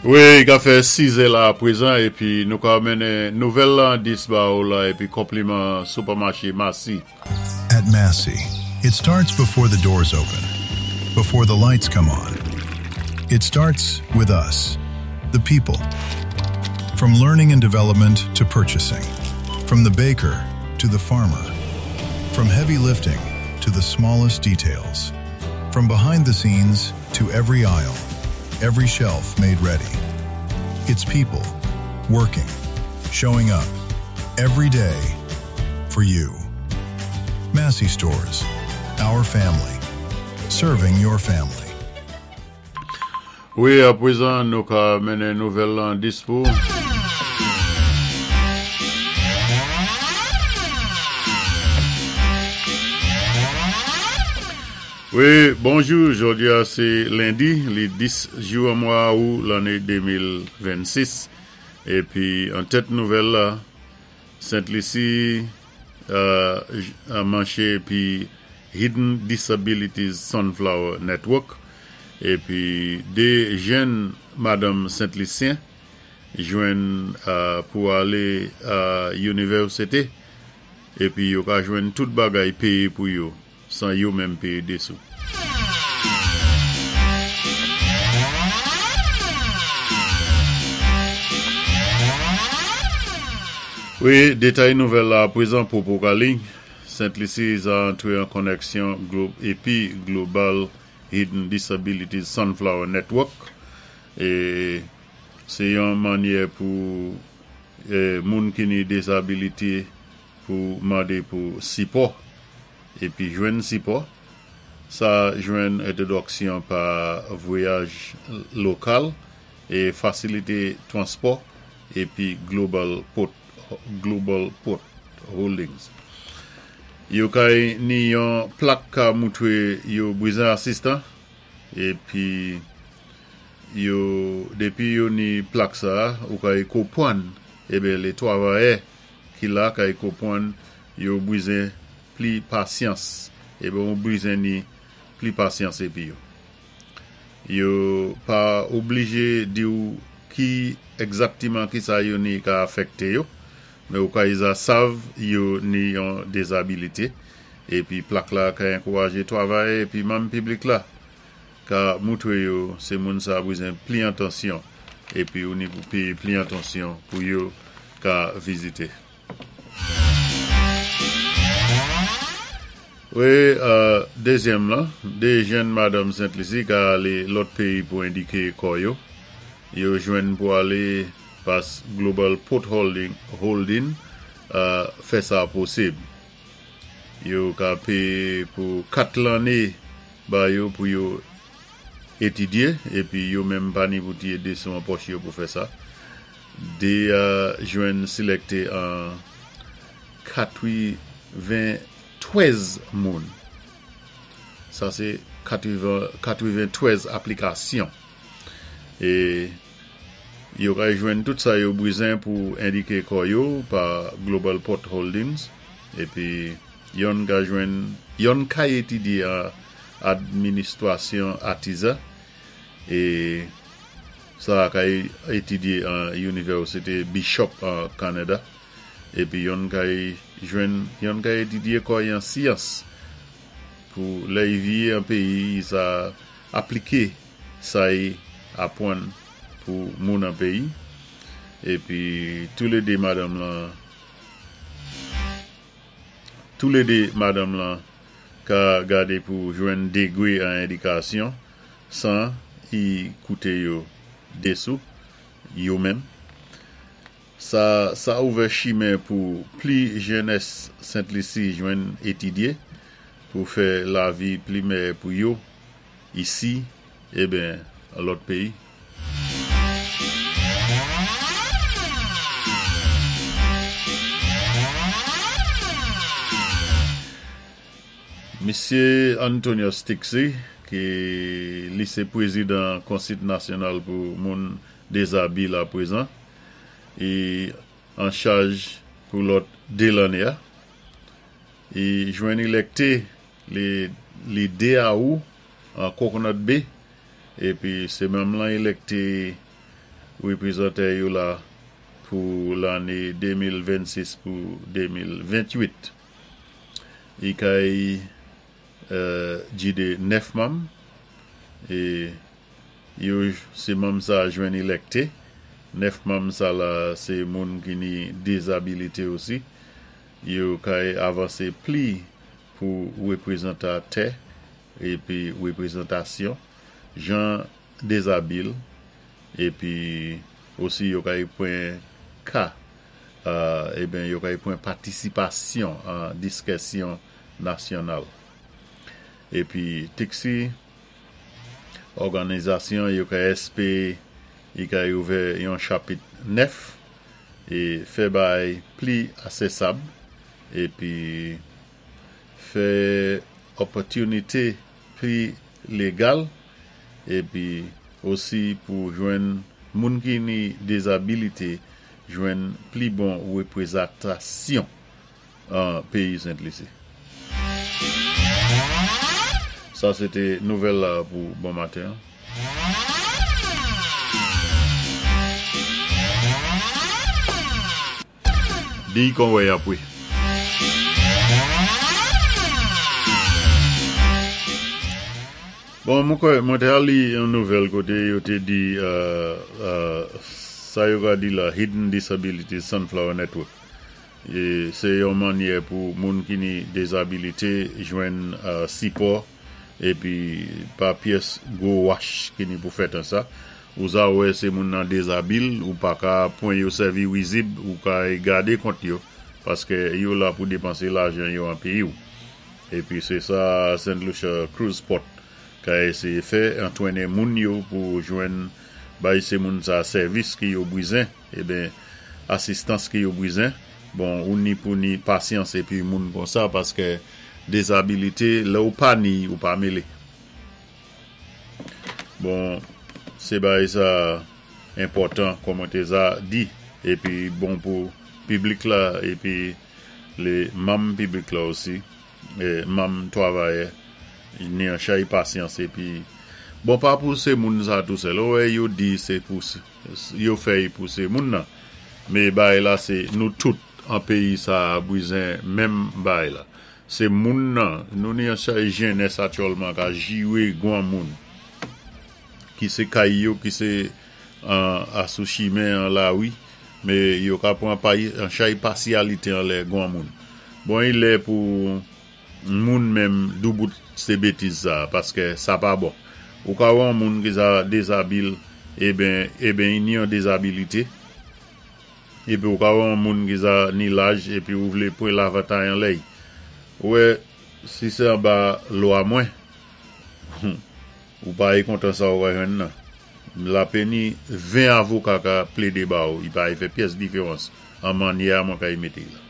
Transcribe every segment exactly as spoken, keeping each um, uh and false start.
Wi, ka fè sizè la pwézan épi nou ka mennen nouvèl la dis ba ou la épi konpliman sipèmaché Massy. At Massy, it starts before the doors open, before the lights come on. It starts with us, the people. From learning and development to purchasing, from the baker to the farmer, from heavy lifting to the smallest details, from behind the scenes to every aisle, every shelf made ready. It's people working, showing up every day for you. Massy Stores, our family, serving your family. Wi, apwézan nou ka mennen nouvèl lan dis pou. Wi, bonjou, jòdi-a sé lendi, li dis jou an mwa out lanné de mil vennsis. Épi an tèt nouvèl la, Sent Lisi euh, manché épi Hidden Disabilities Sunflower Network épi dé jèn madanm Sent Lisyen jwenn euh, pou alé a inivèsité épi yo ka jwenn tout bagay péyé pou yo san yo menm péyé dé sou. Wi, détay nouvèl la pwézan pou Pokali. Sent Lisi a antré an konnèksyon épi Global Hidden Disabilities Sunflower Network é sé yon mannyè pou eh, moun ki ni désabilité pou mandé pou sipò épi jwenn sipò. Sa jwenn entwodiksyon pa vwayaj lokal é fasilité transpò épi Global Port, Global Port Holdings. Yo kay ni yon plak ka moutré yo bwizen asistan épi yo dépi yo ni plak sa ou kay konpwann eben lé twavayè ki la kay konpwann yo bwizen pli pasyans eben ou bwizen ni pli pasyans épi yo. Yo pa oblijé di ou ki egzaktiman ki sa yo ni ka afèkté yo, men ou kay za sav yo ni yon dézabilité épi plak la ka ankourajé twavayè épi manm piblik la ka moutré yo sé moun sa bwizen pli atansyon épi ou ni pou péyé pli atansyon pou yo ka vizité. Wi, euh, dézyèm lan, dé jèn madanm Sent Lisi ka alé lòt péyi pou endiké kò yo. Yo jwenn pou alé pas Global Port Holding, Holding euh, fè sa posib. Yo ka péyé pou kat lanné ba yo pou yo étidyé épi yo menm pa ni pou tiyé dé sou an pòch yo pou fè sa. Dé euh, jwenn silèkté an katwenntwèz moun. Sa sé katwenntwèz aplikasyon. É yo ka jwenn tout sa yo bwizen pou endiké kò yo pa Global Port Holdings épi yon ka jwenn yon ka étidyé an administwasyon atizan é sa ka étidyé an Inivèsité Bishop an Kanada épi yon ka jwenn yon ka étidyé kò an syans pou lè y viyé an péyi sa apliké sa y apwann pou moun an péyi épi tou lé dé madanm lan tou lé dé madanm lan ka gadé pou jwenn dégwé an édikasyon san y kouté yo dé sou yo menm. Sa, sa ouvè chimen pou pli jènès Sent Lisi jwenn étidyé pou fè lavi pli meyè pou yo isi eben an lòt péyi. Misyé Antonio Stixi, ki li sé pwézidan Konsit Nasyonal pou moun dézabi la pwézan, é an chaj pou lòt dé lanné a. I jwenn élèkté li, li dé out an Coconut Bay épi sé menm lan élèkté wépwézantè yo la pou lanné de mil vennsis pou de mil venntwit. I kay euh, jidé nèf manm é yo sé manm sa jwenn élèkté. Nèf manm sa la sé moun ki ni dézabilité osi. Yo kay avansé pli pou wépwézantatè épi wépwézantasyon jan dézabil épi osi yo kay pwan ka euh, eben yo kay pwan patisipasyon an diskisyon nasyonal. Épi T I C C òganizasyon yo kay espéwé i kay ouvè yon chapit nèf é fè bay pli asésab épi fè opòtinité pli légal épi osi pou jwenn moun ki ni dézabilité jwenn pli bon wépwézantasyon an péyi Sent Lisi. Sa sé té nouvèl la pou bon maten. Di kon wè apwé. Bon, mwen kwè, mwen té al li yon nouvèl koté yo té di euh, euh, sa yo ka di la Hidden Disability Sunflower Network. É sé yon mannyè pou moun ki ni dézabilité jwenn euh, sipò épi pa pyès gwo wach ki ni pou fèt an sa. Ou sa wè sé moun nan dézabil ou pa ka pwan yo sèvi wizib ou ka gadé kont yo paské yo la pou dépansé lajan yo an péyi ou. Épi sé sa Saint Lucia Cruise Port ka éséyé fè, antwenné moun yo pou jwenn bay sé moun sa sèvis ki yo bwizen, eben asistans ki yo bwizen. Bon, ou ni pou ni pasyans épi moun kon sa paské dézabilité lè ou pa ni ou pa mélé. Bon, sé bay sa enpòtan kon mwen té za di épi bon pou piblik la épi lé manm piblik la osi é manm twavayè ni an chay pasyans épi bon pa pou sé moun sa tou sèl. Wè yo di sé pou yo fèy pou sé moun nan. Mé bay la sé nou tout an péyi sa bwizen menm bay la. Sé moun nan, nou ni an chay jènès aktyèlman ka jiwé gwan moun ki sé kay yo, ki sé an asou chimen an la wi, mé yo ka pwan pay, an chay pasyalité an lè gwan moun. Bon, i lè pou moun menm doubout sé bétiz sa, paské sa pa bon. Ou ka wè an moun ki sa dézabil, eben, eben i ni an dézabilité, épi ou ka wè an moun ki sa ni laj, épi ou vlé pwan lavantay an lèy. Wè, si sé anba lwa mwen, ou pa y kontan sa ou ka jwenn nan. La péni ven avoka ka plédé ba ou, i pa y fè pyès diféwans an mannyè mwen ka y mété la.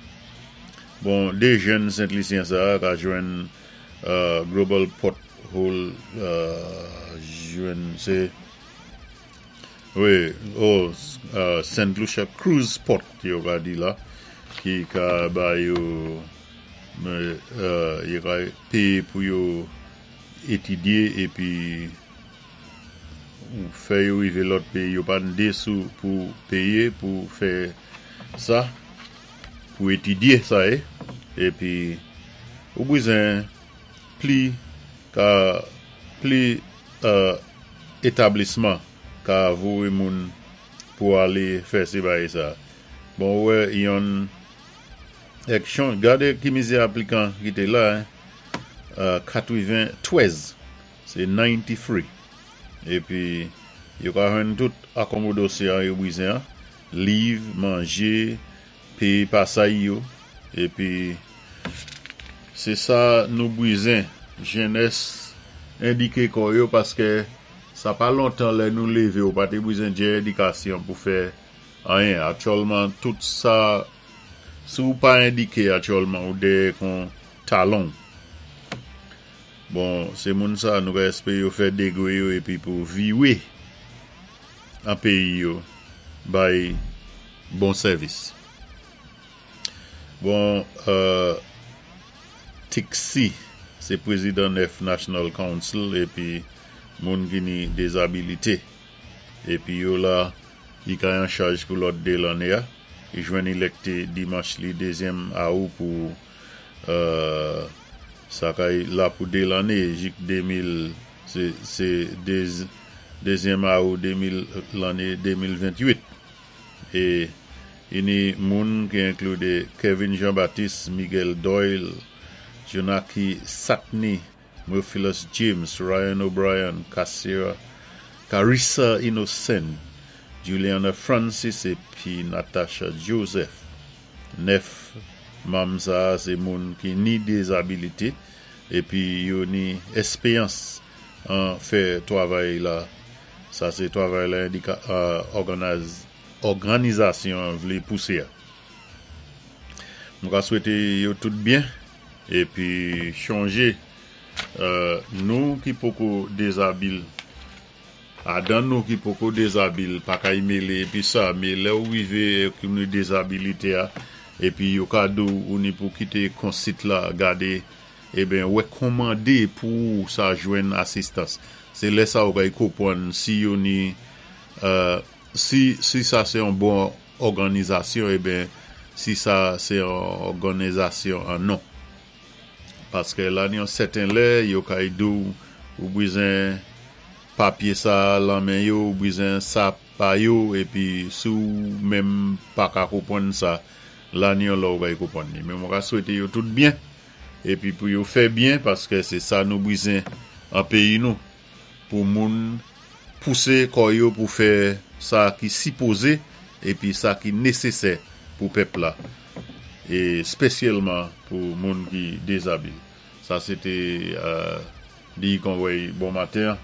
Bon, dé jèn Sent-Lisyen sa ka jwenn uh, Global Pothole uh, jwenn sé wi, oh, uh, Saint Lucia Cruise Port yo ka di la ki ka ba yo mé, uh, yo ka péyé pou yo étidyé épi ou fè yo rivé lòt péyi, yo pa ndé sou pou péyé pou fè sa, pou étidyé sa é, épi ou bwizen pli ka pli euh, établisman ka vowé moun pou alé fè sé bagay sa. Bon, wè, yon aksyon, gadé ki mizé aplikan ki té la, hein, euh, katwenntwèz, sé katrenntwa. Épi, yo ka jwenn tout akonmodasyon yo bwizen, liv, manjé, péyé pasay yo, épi sé sa nou bwizen, jènès endiké kò yo paské sa pa lontan lè nou lévé ou pa té bwizen djè édikasyon pou fè anyen. Aktyèlman, tout sa, si ou pa endiké aktyèlman ou dèyè kon talon. Bon, sé moun sa nou ka espéwé yo fè dégwé yo épi pou viwé an péyi yo bay bon sèvis. Bon, euh, T I C C, sé prézidan nèf National Council épi moun ki ni dézabilité. Épi yo la I ka an chaj pou lòt dé lanné-a. I jwenn ilèkté dimanch li dézyèm awou pou euh, sa kay la pou dé lanné jik de mil, sé, sé déz, dézyèm awou de mil, lanné de mil ventuit. É i ni moun ki inklu Kevin Jean-Baptiste, Miguel Doyle, Jonaki Satni, Murphilus James, Ryan O'Brien, Kassira, Carissa Innocent, Juliana Francis épi Natasha Joseph. Nèf manm sa, sé moun ki ni dézabilité épi yo ni èspéyans an fè twavay la. Sa sé twavay la endika, euh, òganiz, òganizasyon vlé pousé. Nou ka swété yo tout byen épi chonjé euh, nou ki poko dézabil adan, nou ki poko dézabil pa ka mélé épi sa, mé lè ou wivé ki nou dézabilité a épi yo ka di ou ni pou kité konsit la gadé eben wékòmandé pou sa jwenn asistans. Sé lè sa ou kay konpwann si yo ni euh, si, si sa sé yon bon òganizasyon eben si sa sé yon òganizasyon an non. Paské la ni yon sèten lè, yo kay di ou ou bizwen papyé sa lan men yo, ou bizwen sa pa yo, épi si ou menm pa ka konpwann sa, la ni yon lè ou kay konpwann ni. Mé mwen ka swété yo tout byen, épi pou yo fè byen, paské sé sa nou bizwen an péyi nou, pou moun pousé kò yo pou fè sa ki sipozé, épi sa ki nésésè pou pèp la. É spésyalman pou moun ki dézabil. Sa sé té euh, di kon bon maten.